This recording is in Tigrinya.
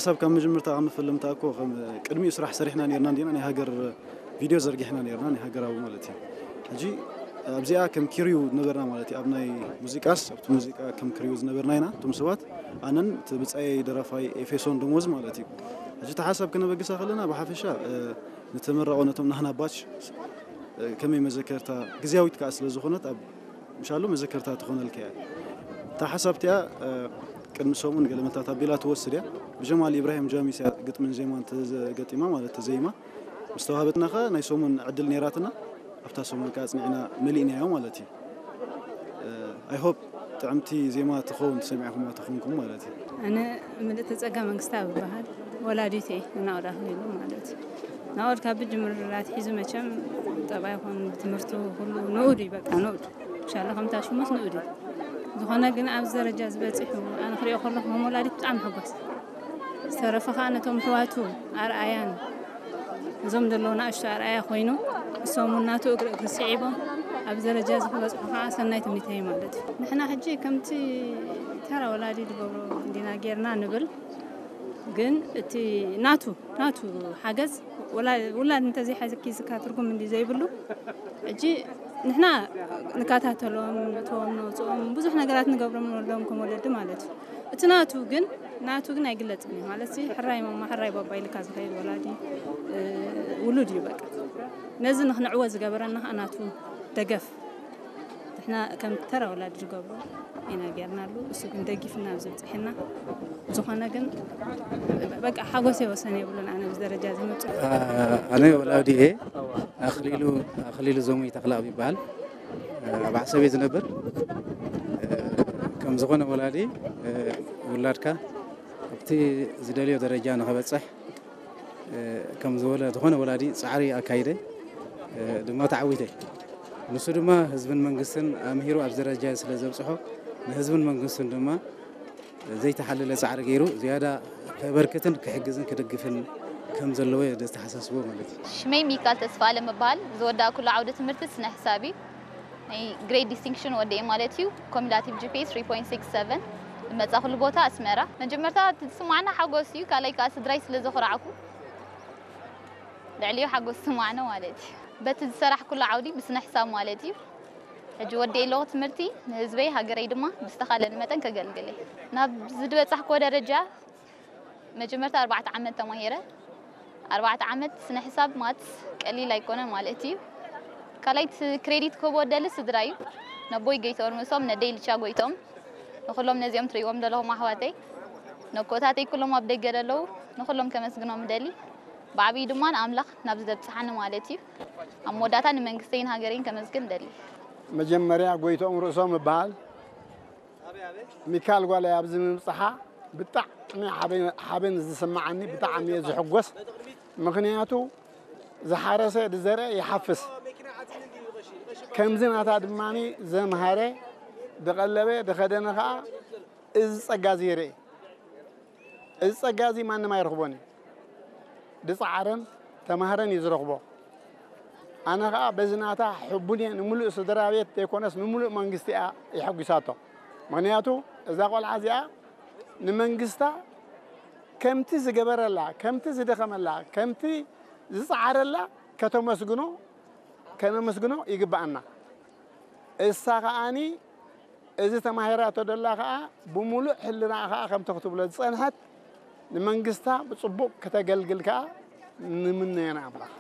ሓሳብ ካብ መጀመርታ ካብ መፈለምታ እኮ ከም ቅድሚኡ ስራሕ ሰሪሕና ነርና እንዲና ናይ ሃገር ቪድዮ ዘርጊሕና ነርና ናይ ሃገራዊ ማለት እዩ። ሕጂ ኣብዚኣ ከም ክሪው ነበርና ማለት እዩ። ኣብ ናይ ሙዚቃስ ኣብቲ ሙዚቃ ከም ክሪው ዝነበርና ኢና እቶም ሰባት ኣነን እቲ ብጻየይ ደራፋይ ኤፌሶን ደሞዝ ማለት እዩ። ሕጂ እቲ ሓሳብ ከነበግሳ ከለና ብሓፈሻ ንተመረቆ ነቶም ናህና ባች ከመይ መዘከርታ ግዝያዊት ከኣ ስለ ዝኾነት ኣብ ምሻሉ መዘከርታ ትኾነልካ እያ። እታ ሓሳብ እቲኣ ቅድሚ ሰሙን ገለ መታታት ኣቢላ ትወስድ እያ። ብጀማል ኢብራሂም ጃሚስ እያ ግጥምን ዜማን ተገጢማ ማለት ተዘይማ ምስ ተዋህበትና ከ ናይ ሰሙን ዕድል ነይራትና ኣብታ ሰሙን ከ ኣጽኒዕና መሊእናዮ ማለት እዩ። I hope ጥዕምቲ ዜማ ትኸውን ትሰሚዕኹማ ትኾንኩም ማለት እዩ። ኣነ ምልእቲ ጸጋ መንግስታ ብበሃል ወላዲት እየ ንናኦድ ኣኽሊሉ ማለት እዩ። ናኦድ ካብ ብጅምር ኣትሒዙ መቸም ጠባይ ይኹን ትምህርቱ ኩሉ ንኡድ እዩ በቃ ንኡድ ሻላ ከምታ ሽሙስ ንኡድ እዩ። ዝኾነ ግን ኣብዚ ደረጃ ዝበፂሑ ኣነ ክሪኦ ከለኹ ከም ወላዲት ብጣዕሚ ሕጎስ ዝተረፈ ከዓ ነቶም ሕዋቱ ኣርኣያን እዞም ዘለዉ ንኣሽቱ ኣርኣያ ኮይኑ እሶም እውን ናቱ እግሪ እግሪ ስዒቦም ኣብዚ ደረጃ እዚ ክበፅሑ ከዓ ሰናይ ትምኒተይ ማለት እዩ። ንሕና ሕጂ ከምቲ ተራ ወላዲ ዝገብሮ እንዲና ጌርና ንብል ግን እቲ ናቱ ናቱ ሓገዝ ውላድ እንተዘይሓዘኪ ዝካ ትርጉም እንዲ ዘይብሉ ሕጂ ንሕና ንከታተሎም ነእትዎም ነውፅኦም ብዙሕ ነገራት ንገብሮም ንወልዶም ከም ወለዲ ማለት እዩ። እቲ ናቱ ግን ናቱ ግን ኣይግለፅን እዩ ማለት ሕራይ ማማ ሕራይ ባባ ኢልካ ዝኸይድ ወላዲ ውሉድ እዩ በቃ። ነዚ ንክንዕወት ዝገበረና ከዓ ናቱ ደገፍ ንሕና ከም ተራ ወላዲ ዝገብሮ ኢና ጌርናሉ። እሱ ግን ደጊፍና ኣብዚ ብፅሕና ዝኾነ ግን በቃ ሓጎሰይ ወሰን የብሉን። ኣነ ኣብዚ ደረጃ እዚ ምብፅሑ ኣነ ወላዲ እየ ኣኽሊሉ ኣኽሊሉ ዘሙይ ተኽላብ ይበሃል። ኣብ ዓሰብ እየ ዝነብር። ከም ዝኾነ ወላዲ ውላድካ ኣብቲ ዝደልዮ ደረጃ ንኸበፅሕ ከም ዝበለ ዝኾነ ወላዲ ፃዕሪ ኣካይደ ድማ ተዓዊተ። ንሱ ድማ ህዝብን መንግስትን ኣምሂሩ ኣብዚ ደረጃ ስለ ዘብፅሖ ንህዝብን መንግስትን ድማ ዘይተሓለለ ፃዕሪ ገይሩ ዝያዳ ከበርክትን ክሕግዝን ክድግፍን ከም ዘለዎ እየ ዘተሓሳስቦ ማለት እዩ። ሽመይ ሚካል ተስፋኣለም እበሃል። ዝወዳእኩሉ ዓውዲ ትምህርቲ ስነ ሕሳብ እዩ። ናይ ግሬድ ዲስቲንክሽን ወዲኤ ማለት እዩ። ኮሚላቲቭ ጂ ፒ ኤ ስሪ ፖይንት ሲክስ ሰቨን ዝመጻእኩሉ ቦታ ኣስመራ። መጀመርታ እቲ ዝስማዓና ሓጎስ እዩ። ካልኣይ ከኣ ስድራይ ስለ ዘኹራዕኩ ልዕሊኡ ሓጎስ ዝስማዓና ማለት እዩ። በቲ ዝሰራሕኩሉ ዓውዲ ብስነ ሕሳብ ማለት እዩ። ሕጂ ወዲኤ ኣለኹ ትምህርቲ ንህዝበይ ሃገረይ ድማ ብዝተኻለኒ መጠን ከገልግል እየ። ናብ ዝድበጻሕክዎ ደረጃ መጀመርታ ኣርባዕተ ዓመት ተማሂረ ኣርባዕተ ዓመት ስነ ሕሳብ ማትስ ቀሊል ኣይኮነን ማለት እዩ። ካልኣይ እቲ ክሬዲት ክህቦ ደሊ ስድራ እዩ። ነቦይ ጎይትኦም ርእሶም ነደይ ልቻ ጎይትኦም ንኩሎም ነዚኦም ትርእይዎም ዘለኹም ኣሕዋተይ ነኮታተይ ኩሎም ኣብ ደገ ዘለዉ ንኩሎም ከመስግኖም እደሊ። ብዓብዩ ድማ ንኣምላኽ ናብዚ ዘብጽሓኒ ማለት እዩ። ኣብ መወዳእታ ንመንግስተይን ሃገረይን ከመስግን እደሊ። መጀመርያ ጎይትኦም ርእሶም እበሃል። ሚካል ጓለይ ኣብዚ ምብፅሓ ብጣዕሚ ሓበን ዝስምዓኒ ብጣዕሚ እየ ዝሕጎስ። ምኽንያቱ ዝሓረሰ ዝዘርአ ይሓፍስ። ከምዚ ናታ ድማ ዘምሃረ ዝቐለበ ዝኸደነ ከዓ እዚ ፀጋ እዚ ይርኢ። እዚ ፀጋ እዚ ማንም ኣይረኽቦን እዩ። ዝፀዓረን ተማህረን እዩ ዝረኽቦ። ኣነ ከዓ በዚ ናታ ሕቡን እየ። ንምሉእ ስድራ ቤት ዘይኮነስ ንምሉእ መንግስቲ እያ የሐጒሳቶ። ምኽንያቱ እዛ ቆልዓ እዚኣ ንመንግስታ ከምቲ ዝገበረላ፣ ከምቲ ዝደኸመላ፣ ከምቲ ዝፀዓረላ ከተመስግኖ ከነመስግኖ ይግበኣና። እሳ ከዓኒ እዚ ተማሂራቶ ደላ ከኣ ብሙሉእ ሕልናኣ ከኣ ከምቲ ክትብሎ ዝጸንሐት ንመንግስታ ብጽቡቕ ከተገልግል ከኣ ንምነዮ ንኣምላኽ።